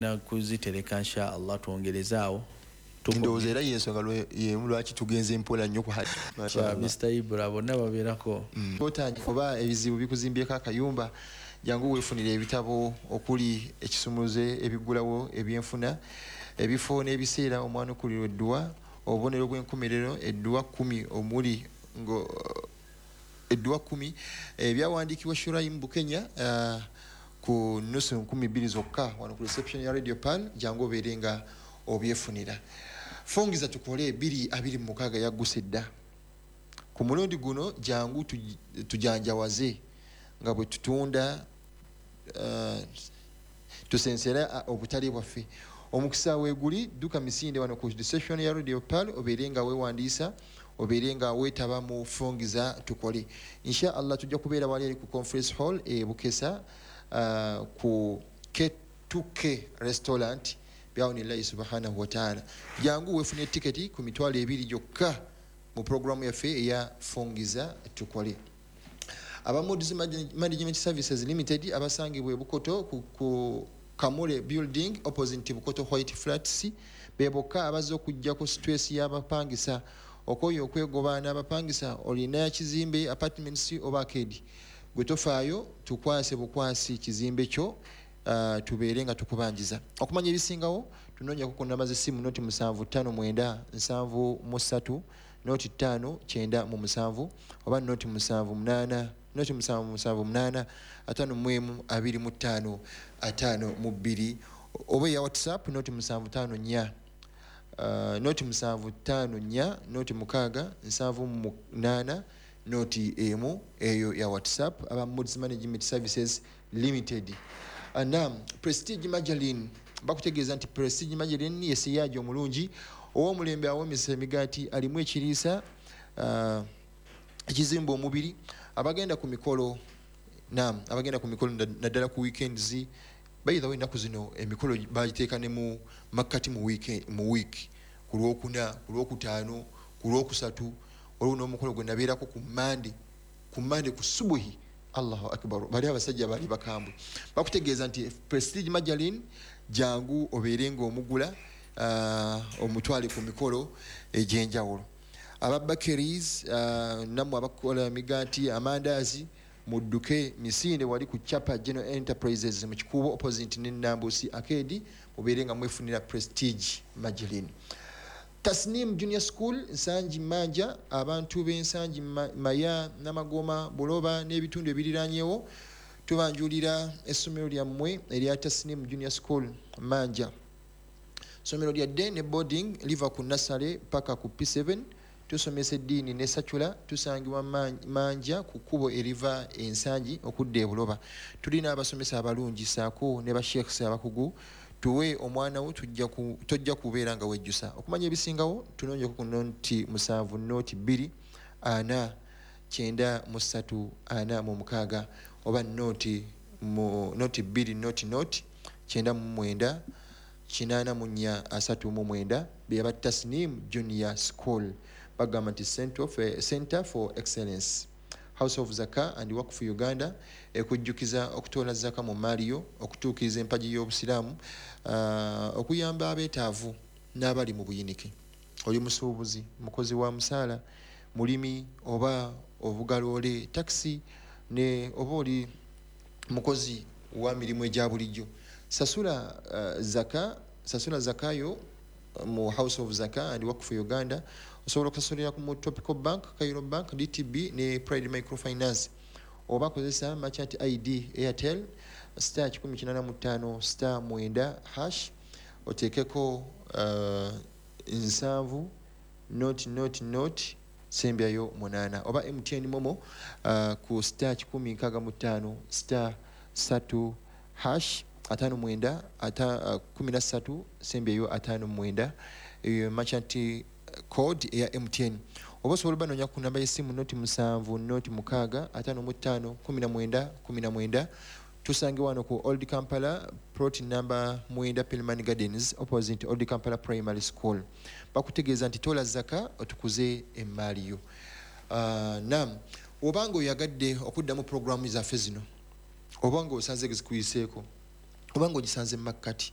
Kuzitereka, insha Allah, twongerezaawo. Ndowooza era yensonga yemu lwaki tugenze mpola nnyo ku Hajji. Mr Ibra bonna babeerako. Otangi oba ebizibu bikuzimbyeko akayumba, jangu weefunire ebitabo okuli ekisumuze, ebiggulawo ebyenfuna, ebifo n'ebiseera omwanukulirwa edduwa, obubonero bw'enkomerero, edduwa 10 omuli ngo edduwa 10 ebyawandiikibwa Shuraim Bukenya, ku nusu 2000 zokka wano ku reception ya Radio Pearl. Jangu obeere nga obyefunira. Fungiza Tukole 2026 yagguse dda. Ku mulundi guno jangu tujanjawaze nga bwe tutunda, tusensere obutale bwaffe. Omukisa weeguli, dduka misinde wano ku reception ya Radio Pearl, obeere nga weewandiisa, obeere nga weetaba mu Fungiza Tukole. Insha Allah tujja kubeera wali eri ku conference hall e Bukesa, ku K2K Restaurant, biaunillahi subhanahu wataala. Jangu weefune tiketi ku 20,000 gyokka mu programu yaffe eya Fungiza Tukole. Aba Moods Management Services Limited abasangibwa e Bukoto ku Kamule Building opposite Bukoto White Flats be bokka abazze okujja ku stress y'abapangisa. Okoye okwegoba n'abapangisa? Olina kizimbe, apartments oba arcade, gwe tofaayo, tukwase bukwasi kizimbe kyo, tubeere nga tukubanjiza. Okumanya ebisingawo, tunoonyako ku namba z'essimu 075 73 05 97 oba 078 0778 51 25 52, oba eya WhatsApp 0754 0754 0 6 78 01, eyo ya WhatsApp, aba Moods Management Services Limited. Nam Prestige Margarine bakutegeeza nti Prestige Margarine ye siyaagi omulungi ow'omulembe awoomesa emigaati, alimu ekiriisa ekizimba omubiri. Abagenda ku mikolo, nam abagenda ku mikolo naddala ku weekends. By the way, ennaku zino emikolo bagiteeka ne mu makkati mu week, ku Lwokuna, ku Lwokutaano, ku Lwokusatu. Waliwo n'omukolo gwe nabeerako ku Mande, ku Mande ku subuhi. Allahu akbar, bali abasajja bali bakambwe. Bakutegeeza nti Prestige Margarine, jangu obeere ngaomugula, omutwale ku mikolo egyenjawulo. Aba bakeries, nammwe abakola emigaati, amandaazi, mudduke misinde wali ku Chapa General Enterprises mu Kikuubo opposite ne Nambusi Arcade, mubeere nga mwefunira Prestige Margarine. Tasnim Junior School Nsangi Manja, abantu b'Ensangi, Maya, Namagoma, Buloba n'ebitundu ebiriranyewo, tubanjulira essomero lyammwe erya Tasnim Junior School Manja. Somero lya day ne boarding, liva ku nursery paka ku P7. Tusomesa eddiini ne secular. Tusangibwa Manja ku kkubo eriva Ensangi okudda e Buloba. Tulina abasomesa abalungi saako ne basheikhs abakugu. Tuwe omwana wo, tojja kubeera nga wejjusa. Okumanya ebisingawo, tunoonyeko ku 070 02 4 93 46 oba 0 mu 0 2 0 0 99 84 39. Beba Tasnim Junior School bagamba nti Center for Excellence. House of Zaka and Wakfu Uganda ekujjukiza okutoola zaka mu maaliyo, okutuukiriza empagi y'Obusiraamu, okuyamba abeetaavu n'abali mu buyinike. Oli musuubuzi, mukozi wa musaala, mulimi oba ovuga loole, takisi, ne oba oli mukozi wa mirimu egya bulijjo, sasula zaka, sasula zakayo mu House of Zaka and Wakfu Uganda. Osobola okusasulira mu Tropical Bank, Cairo Bank, DTB ne Pride Microfinance, oba kozesa merchant ID Airtel *185*9#, oteekeko 7 0 0 0 sembyayo 8, oba MTN MoMo ku *165*3# 59 13 sembyayo 59. Eyo merchant code eya MTN. Oba osobola obanoonya ku namba y'essimu 0 7 0 6 55 19 19. Tusange wano ku Old Kampala, plot number 9, Pilman Gardens opposite Old Kampala Primary School. Bakutegeeza nti tola zaka otukuze emaali yo. Nam obanga oyagadde okuddamu programu zaffe zino, oba nga osanze zikuyiseeko, oba nga ogisanze mu makkati.